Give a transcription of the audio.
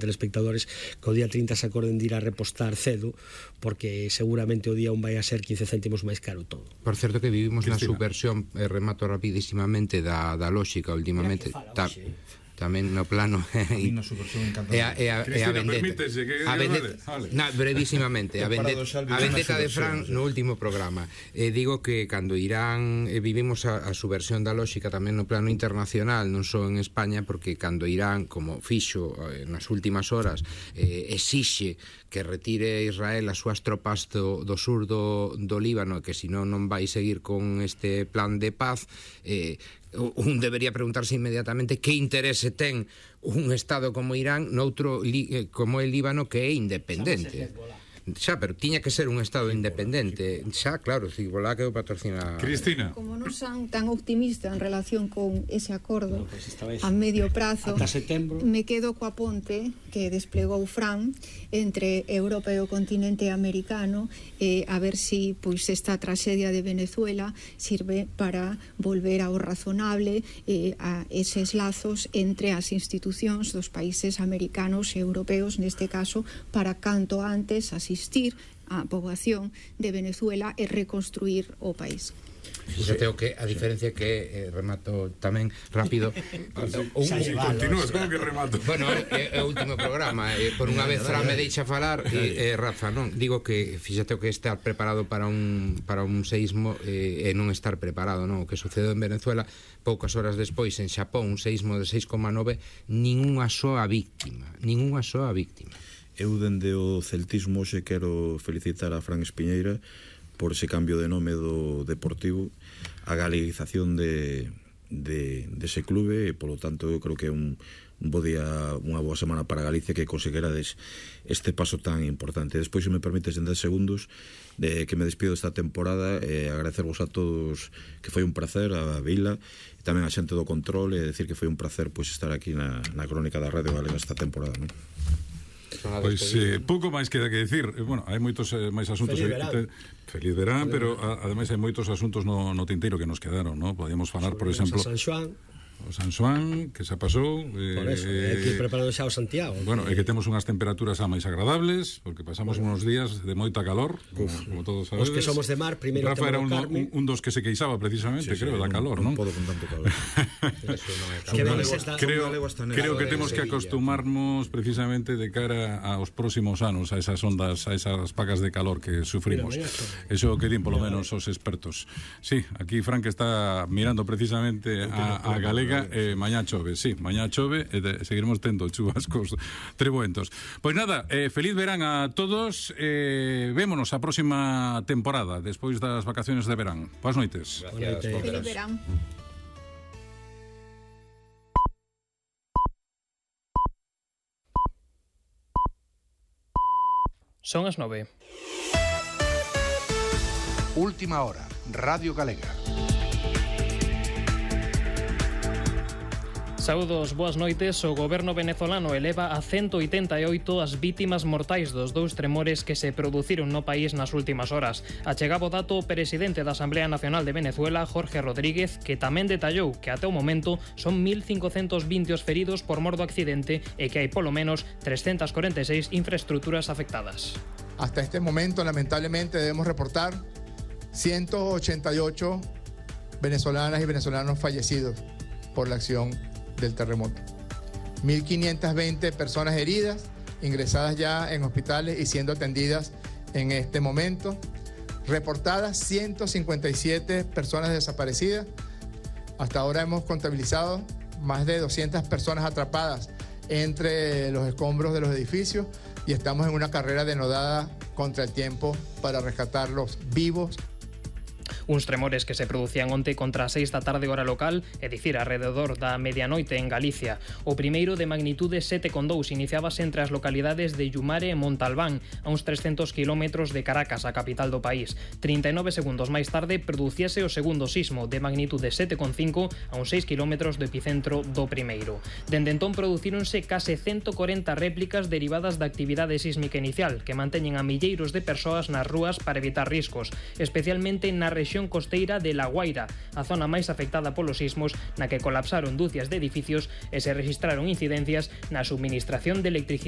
telespectadores que o día 30 se acorden de ir a repostar cedo, porque seguramente o día 1 vai a ser 15 céntimos máis caro todo. Por certo que vivimos na subversión, remato rapidísimamente da lóxica últimamente. Tamén no plano e a vendetta brevísimamente a vendetta de Fran no último programa. Digo que cando Irán vivimos a subversión da lógica tamén no plano internacional, non só en España, porque cando Irán, como fixo nas últimas horas, exixe que retire Israel as súas tropas do sur do Líbano, que senón non vai seguir con este plan de paz, un debería preguntarse inmediatamente que interese ten un Estado como Irán noutro como el Líbano, que é independente. Xa, pero tiña que ser un Estado independente. Xa, claro, Hezbollah que o patrocina. Cristina. Como non son tan optimistas en relación con ese acordo a medio prazo, me quedo coa ponte que desplegou Fran entre Europa e o continente americano, a ver si pois esta traxedia de Venezuela sirve para volver ao razonable, a eses lazos entre as institucións dos países americanos e europeos, neste caso, para canto antes asistir a poboación de Venezuela e reconstruir o país. Fíxate o que a diferencia que remato tamén rápido. Continúas, como que remato? Bueno, é o último programa, por unha vez Fran me deixa falar e Rafa, non? Digo que fíxate o que estar preparado para un seismo e non estar preparado, non? O que sucedeu en Venezuela poucas horas despois en Xapón, un seismo de 6,9, ningunha soa víctima. Eu dende o celtismo hoxe quero felicitar a Fran Espiñeira por ese cambio de nome do Deportivo, a galeguización dese clube, e polo tanto eu creo que é un bo día, unha boa semana para Galicia, que conseguirades este paso tan importante. Despois, se me permites, en 10 segundos que me despido esta temporada, agradecervos a todos, que foi un placer, a Vila e tamén a xente do control, e decir que foi un placer estar aquí na crónica da Radio Galega esta temporada, non? Pois pouco máis queda que decir. Bueno, hai moitos máis asuntos. Feliz verán, pero ademais hai moitos asuntos no tinteiro que nos quedaron, ¿no? Podíamos falar, por exemplo, o San Xoán, que xa pasou. Por eso, aquí preparando xa o Santiago. Bueno, é que temos unhas temperaturas máis agradables, porque pasamos unos días de moita calor, como todos sabedes. Os que somos de mar, primeiro Rafa era un dos que se queixaba precisamente, creo, da calor, non? Non podo con tanto calor. Creo que temos que acostumarnos precisamente de cara aos próximos anos a esas ondas, a esas pacas de calor que sufrimos. Eso que din polo menos os expertos. Sí, aquí Frank está mirando precisamente a Galega. Mañá chove, mañá chove e seguiremos tendo chubascos trebuentos. Pois nada, feliz verán a todos, vémonos a próxima temporada despois das vacaciones de verán. Boas noites. Feliz verán. Son as 9. Última hora, Radio Galega. Saúdos, boas noites. O goberno venezolano eleva a 188 as vítimas mortais dos dous tremores que se produciron no país nas últimas horas. Achegaba o dato o presidente da Asamblea Nacional de Venezuela, Jorge Rodríguez, que tamén detallou que até o momento son 1.520 os feridos por mor do accidente e que hai polo menos 346 infraestructuras afectadas. Hasta este momento, lamentablemente, debemos reportar 188 venezolanas y venezolanos fallecidos por la acción del terremoto. 1.520 personas heridas, ingresadas ya en hospitales y siendo atendidas en este momento. Reportadas 157 personas desaparecidas. Hasta ahora hemos contabilizado más de 200 personas atrapadas entre los escombros de los edificios y estamos en una carrera denodada contra el tiempo para rescatarlos vivos. Uns tremores que se producían onte contra as 6 da tarde hora local, é dicir, alrededor da medianoite en Galicia. O primeiro de magnitude 7,2 iniciábase entre as localidades de Yumare e Montalbán, a uns 300 km de Caracas, a capital do país. 39 segundos máis tarde producíase o segundo sismo de magnitude 7,5 a uns 6 km do epicentro do primeiro. Dende entón producíronse case 140 réplicas derivadas da actividade sísmica inicial, que manteñen a milleiros de persoas nas rúas para evitar riscos, especialmente na rexión costeira de La Guaira, a zona máis afectada polos sismos, na que colapsaron dúcias de edificios e se registraron incidencias na subministración de electricidade